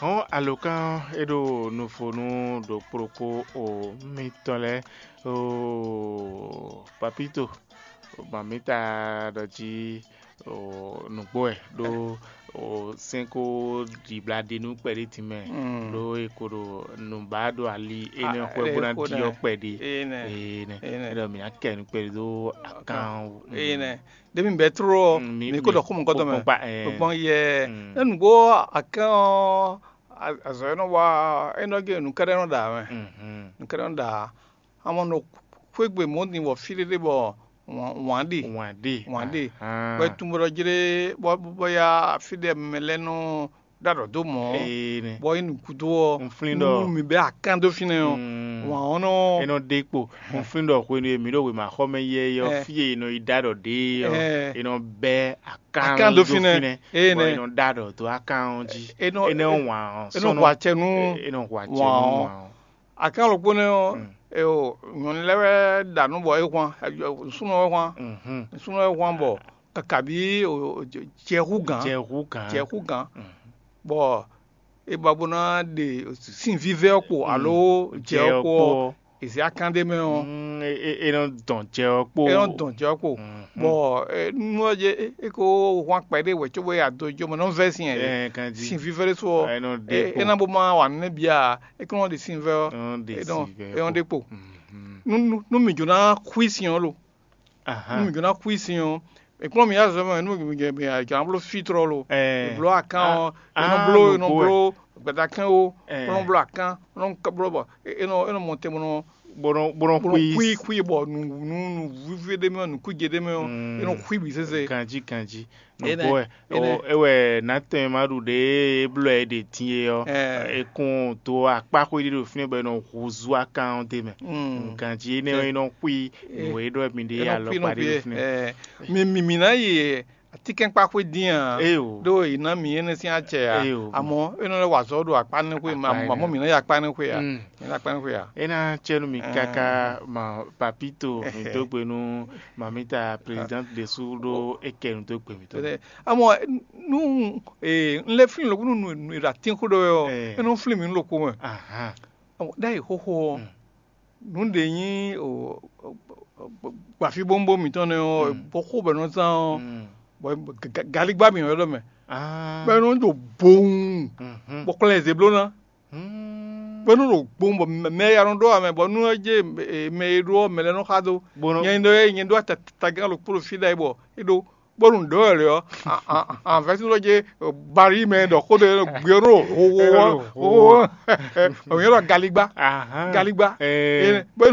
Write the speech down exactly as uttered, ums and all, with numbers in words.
Hɔn alokán ɔ́, é ɖo nufonu ɖokpó ɖokpó o mitɔn lɛ́ɛ o papito, mami ta ɖɔ jí o nǔgbó wɛ ɖó o sɛ́n ko ɖibla ɖi nú kpɛɖé din mɛ ɖó e ko ɖo nǔbá ɖo ali énɛ́ xwɛ bó ná ɖi ɔ́ kpɛɖé. Énɛ́ é ɖɔ mǐ ná kɛ nǔ kpɛɖé dó akán wú. Ɖěbǔ bɛ́ tló ɔ́, Mm, mi- mǐ kó mi- ɖɔ xó mɔ̌kɔtɔn mɛ. kpɔ́n kpa, ɛ. Kpɔ́n yɛ. Mm. Énǔgbó akán ɔ́, a- azɔ̌ e nɔ wa é nɔ gé nǔkɛ́ɖɛ́ nɔ ɖa mɛ. Mhm. Nǔkɛ́ɖɛ́ nɔ ɖa. Amɔ nɔ xwégbe mɔ̌ din bɔ fí ɖé ɖé bɔ wǎn wǎn ɖe. Wǎn ɖe. Wǎn ɖe. Ahán. Bɔ é tunwun bɔ ɖɔ jlé bɔ bɔ ya fí ɖé mɛ lɛ́ɛ nɔ ɖo aɖɔ̌ dó mɔ̌. Ee nɛ. Bɔ é nǔ gúdo ɔ́, Un flín nú ɖɔ- nú mi bɛ́ akán dó fínɛ́ ɔ́, Mm. wǎn ɔ́ nɔ É nɔ ɖe kpo. Un flín ɖɔ hwenu e mǐ ɖo wěmaxɔmɛ yɛ ɔ́, Ɛ. fí e è nɔ yi ɖó aɖɔ̌ ɖe ɔ́, Ɛ. è nɔ bɛ́ akán Akán dó dó fínɛ́. fínɛ́. Ee Bɔ nɛ. è nɔ ɖó aɖɔ̌ dó akán ɔ́ jí. É nɔ- É nɔ wǎn ɔ́ é nɔ sɔ́nɔ. Hwa acɛ nú É nɔ hwa acɛ wǎn nú ɔ́. wǎn ɔ́. Akán ɖokpó nɛ́ ɔ́, Mm. e o nyɔ̌nu lɛ́ɛ wɛ ɖa nǔ bɔ é hwan, súnɔ wɛ hwan, Mhm. súnɔ wɛ hwan bɔ kakabi o- o- jɛ hú gǎn, Jɛ hú gǎn. jɛ hú gǎn, Mhm. bɔ é ba bó ná ɖe sin vívɛ́ ɔ́ kpo alo jɛ ɔ́ kpo ɔ́, è zě akán ɖé mɛ ɔ́, Mm, é- é- é nɔ dɔn jɛ ɔ́ kpo. é nɔ dɔn jɛ ɔ́ kpo, Mhm. bɔ é- nú ɔ́ jɛ é- é ko hwan kpɛɖé wɛ cóbɔ é ado jó mɛ nɔ vɛ́ sin ɛ Ɛ, kan jí. sin vívɛ́ ɖé so ɔ́, É nɔ ɖe é- kpo. é ná bó má wa nǔ nɛ́ bia é kó nɔ ɖe sin vɛ́ ɔ́, É nɔ ɖe é nɔ sin vɛ́ é nɔ kpo. ɖe kpo. Mhm. Nú nú- nú mǐ jǒ ná xwí sin ɔ́ lo, Ahán. Nú mǐ jǒ ná xwí sin ɔ́, è kplɔ́n mǐ azɔ̌ mɛ nú mǐ jɛ mǐ jǎ bló fí tlɔ́ lo. Ɛ. È bló akán ɔ́, è nɔ Ah, bló è nɔ nǔgbó wɛ. bló gbadakɛ́n ó, Ɛ. è nɔ bló akán, è nɔ bló bɔ è nɔ è nɔ mɔ tɛn bɔ nɔ Bó nɔ bó nɔ bó nɔ xwí. xwí xwí bɔ nǔ nǔ nǔ vívɛ ɖé mɛ ɔ́, nǔkújɛ ɖé mɛ ɔ́, Mm. è nɔ xwí bǐ sésé. Ganjí ganjí. Énɛ́, Nǔgbó wɛ. énɛ́. O, é wɛ nǎ tɛn ma ɖu ɖě é blɔ́ ɛ ɖe din é ɔ́, Ɛ. é kún dó akpáxwé ɖé ɖo fínɛ́ bɔ é nɔ húzú akán ɔ́ d'é mɛ. Mm. Ganjí énɛ́ ɔ́ é nɔ xwí nǔ e ɖɔ mi ɖé É nɔ xwí nɔ alɔkpa ɖé xwí ɖo é. fínɛ́. Ɛ, mi mi mi ná yi atínkɛ́nkpáxwé dín a? Éyo. Ɖó è nǎ mi énɛ́ sín acɛ a? Éyo. Amɔ̌ é nɔ lɛ́ wa azɔ̌ ɖo akpá nɛ́ xwé Akpá mɛ, énɛ́. Amɔ̌ mi ná yi akpá nɛ́ xwé a? Mm. Mi ná akpá nɛ́ xwé a? É ná cɛ nú mi Ɛɛ. káká ma papito mi dó gbe nú mamita présidente ɖésú ɖó é kɛ nu dó gbe mǐtɔn. Tɛnɛ, amɔ nu ee n lɛ flin lɔku nu nu nu ɖo atin xó ɖɔ wɛ ɔ, Ɛɛ. E nɔ flin mi nu lɔku mɛ. Ahan. Ɔ, ɖe ayi xoxo ɔ, Mm. Nu ɖe nyi o gbafi bɔnbɔn mǐtɔn nɛ ɔ, Mm. bɔ xó bɛ nɔ zan ɔ, Mm. bɔ ga- ga- galigba mi yɔ ɖɔ mɛ, Ah. bɛ nɔ do boŋ, Mhm. bɔ kplɛ zeblona, Mm. bɛ nɔ do boŋ bɔ mɛ- mɛ ya nɔ ɖɔ amɛ bɔ nu ɛ je mɛ e ɖo ɔ mɛ lɛ nɔ xa do. Bó nɔ- Nyɛ ɖɔ nyɛ ɖo atagán lo kpolo fi ɖa yi bɔ e ɖo bónú ɖǒ wɛ lě ɔ́, anvɛ́sín lɔ jɛ bari mɛ ɖɔ xó ɖé gbé ɔ́ nɔ hoho hoho, òun yɛ ɖɔ galigba, Ahán. galigba. Ee. Bónú